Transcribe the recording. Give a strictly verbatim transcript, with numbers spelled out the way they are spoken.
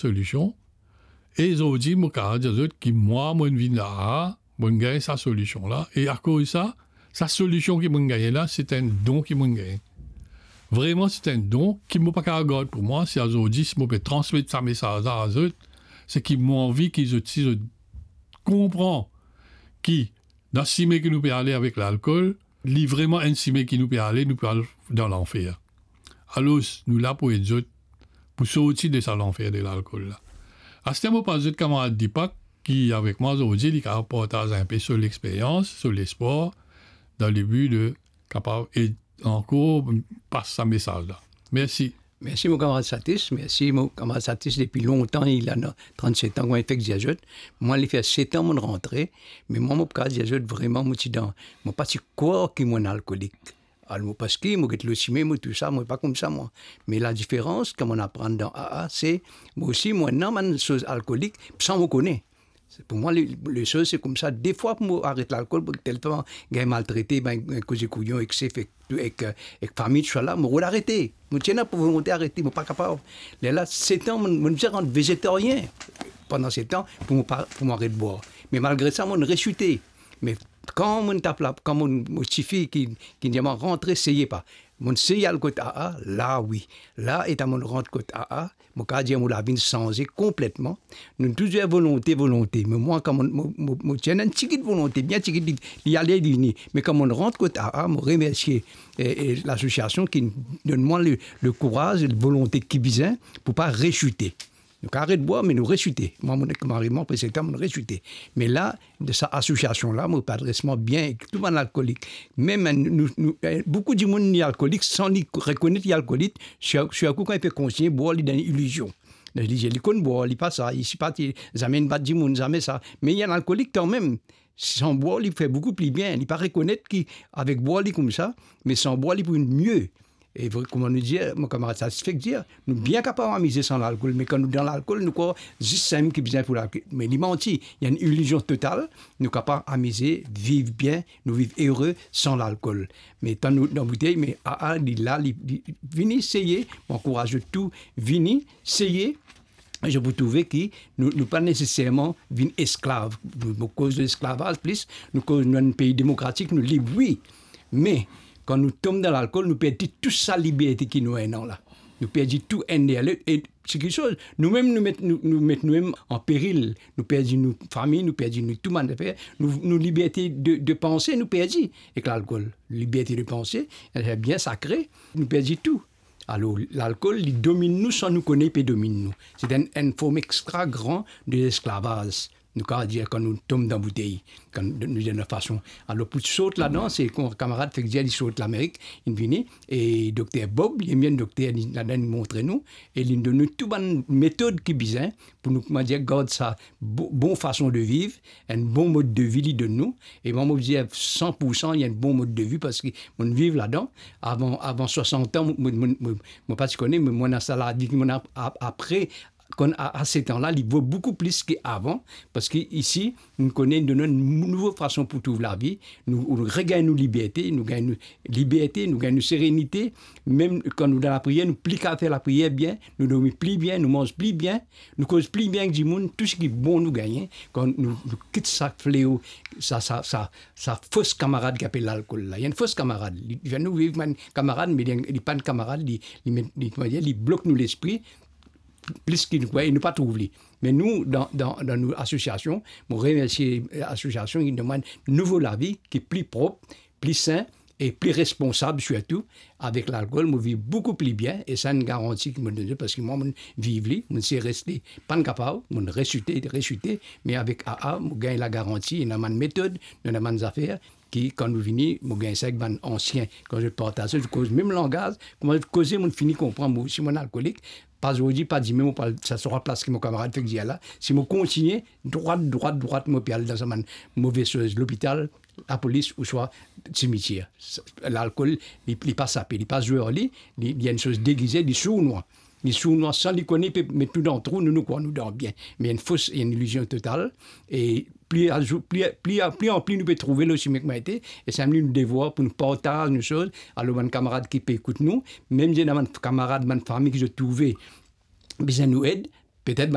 solision. E zordi, mo kapav dir zot ki mwa, mo vinn la, mo gagn sa solision la. E akoz sa, sa solision ki mo gagne la, se enn don ki mo gagne. Vreman, se enn don ki mo pa kapav gard pou mwa. Si azordi, si mo pe transmet sa mesaz la a zot, se ki mo anvi ki zot, si zot konpran ki dan sime ki nou pe ale avek lalkol, li vreman enn sime ki nou pe ale, nou pe al dan lanfer. Alor, nou la pou ed zot pou sorti de sa lanfer de lalkol la. Aster mo pas zot kamarad Deepak, ki avek mwa zordi, li kapav partaz inpe so lexperyans, so lespwar, dan le bi de kapav ed ankor pas sa mesaz la. Mersi. Mersi, mo kamarad Satis. Mersi, mo kamarad Satis, depi lontan, li la, trannset an, kouma li fek dir zot. Mwa, li fer set an mo rantre, me mwa, mo kapav dir zot, vreman, mo ti dan, mo pa ti krwar ki mo enn alkolik. Alor, mo, parski mo get lor sime, mo tou sa, mo pa koumsa, mwa. Me ladiferans, kan mo aprann dan A A, se, mo osi, mo ena bann soz alkolik, san mo kone. Se, pou mwa, le, le soz, se koumsa. Defwa, pou mo aret lalkol, pou telman gagn maltrete, ben, gagn koze kouyon ek sef, ek, ek, ek fami, tousala, mo rod arete. Mo ti ena volonte arete, mo pa kapav. Lerla, set an, mo, mo bizin rant vezetarien pandan set an pou mo pa, pou mo aret bwar. Me malgre sa, mo reswite. Me kan mo tap la, kan mo, mo tifi ki, ki dir mwa, "Rantre, seye pa." Mo seye al kot A A, la wi. La, eta mo rant kot A A, mo kapav dir mo lavi inn sanze konpletman. Nou touzour volonte, volonte. Me mwa, kan mo, mo, mo, mo ti ena enn tigit volonte, bien tigit, li, li ale, li vini. Me kan mo rant kot A A, mo remersie, eh, eh, lasosiasion ki donn mwa le, le kouraz, le volonte ki bizin pou pa reswite. Nou kapav aret bwar, me nou reswite. Mwa, mo ek mari mwa, apre set an, mo reswite. Me la, de sa asosiasion la, mo pe adres mwa bien ek tou bann alkolik. Mem, eh, nou, nou, eh, boukou dimoun li alkolik san li rekonet li alkolik, sirtou kan li pe kontign bwar, li dan ilizion. Dan ilizion, li konn bwar, li pa sa, li sipa, li zame inn bat dimoun, zame sa. Me li enn alkolik kanmem. San bwar, li fer boukou pli bien. Li pa rekonet ki avek bwar, li koumsa, me san bwar, li pou mie. E vre, kouma nou dir, mo kamarad Satis fek dir, nou bien kapav amize san lalkol, me kan nou dan lalkol, nou krwar zis samem ki bizin pou lalkol. Me li manti, li enn ilizion total, nou kapav amize, viv bien, nou viv ere san lalkol. Me tan nou dan boutey, me A A, li la, li, li vini seye, mo ankouraz zot tou, vini seye, zot pou trouve ki nou, nou pa neseserman vinn esklav. Nou, nou koz lesklavaz plis, nou koz nou enn pei demokratik, nou lib, wi. Me, kan nou tom dan lalkol, nou perdi tou sa liberte ki nou ena la. Nou perdi tou enn deryer lot. E se kiksoz, nou mem, nou met, nou, nou met nou mem an peril. Nou perdi nou fami, nou perdi nou tou bann zafer. Nou, nou liberte de, de panse, nou perdi ek lalkol. Liberte de panse, se bien sakre, nou perdi tou. Alor, lalkol, li dominn nou san nou kone li pe dominn nou. Se enn, enn form extra gran de lesklavaz. Nou kapav dir kan nou tom dan boutey, kan nou, nou dan fason. Alor, pou sort ladan, se kouma kamarad fek dir, li sort Lamerik, li vini, e dokter Bob, li enn dokter, li, ladan li montre nou, e li donn nou tou bann metod ki bizin pou nou, kouma dir, gard sa bo-, bon fason de viv, enn bon mod de vi li donn nou. E mwa, mo dir san pou san, li enn bon mod de vi, parski mo viv ladan. Avan, avan swasant an, mo, mo, mo, mo, mo pa ti kone, me mo ena sa lavi ki mo ena ap-, ap-, apre, kan a, a set an la, li vo boukou plis ki avan, parski isi, nou kone, donn nou enn nouvo fason pou trouv lavi, nou, nou regagn nou liberte, nou gagn nou liberte, nou gagn nou serenite. Mem kan nou dan lapriyer, nou pli kapav fer lapriyer bien, nou dormi pli bien, nou manz pli bien, nou koz pli bien ek dimoun, tou seki bon nou gagne, kan nou, nou kit sa fleo, sa, sa, sa, sa fos kamarad ki apel lalkol la. Li enn fos kamarad. Li, li fer nou viv kouma enn kamarad, me li, li pa enn kamarad, li, li met, li, kouma dir, li blok nou lespri, plis ki nou krwar, e nou pa trouv li. Me nou, dan, dan, dan nou asosiasion, mo remersie, eh, asosiasion ki donn mwa enn nouvo lavi, ki pli prop, pli sin e pli responsab sirtou avek lalkol. Mo viv boukou pli bien e sa enn garanti ki mo donn zot, parski mwa, mo viv li, mo seye reste, pa enn kapav, mo reswite, reswite, me avek A A, mo gagn lagaranti, ena bann metod, ena bann zafer, ki, kan nou vini, mo gagn sa ek bann ansien. Kan zot partaz, zot koz mem langaz, kouma zot koze, mo fini konpran, mo, si mo enn alkolik, pa zordi, pa dimin, mo pa al sa trwa plas ki mo kamarad fek dir la. Si mo kontigne, drwat, drwat, drwat, mo pe al dan sa bann move soz, lopital, lapolis, ouswa simitier. Sa, lalkol, li, li pa sape, li pa zwe ar li, li, li enn soz degize, li sournwa. Li sournwa san li kone, li pe met nou dan trou, nou, nou krwar nou dan bien. Me enn fos, enn ilizion total. E pli azou-, pli, pli, pli anpli nou pe trouve lor sime ki nou ete, e sa enn nou devwar pou nou partaz nou soz, alor bann kamarad ki pe ekout nou, mem si ena bann kamarad, bann fami ki zot trouve bizin nou ed, petet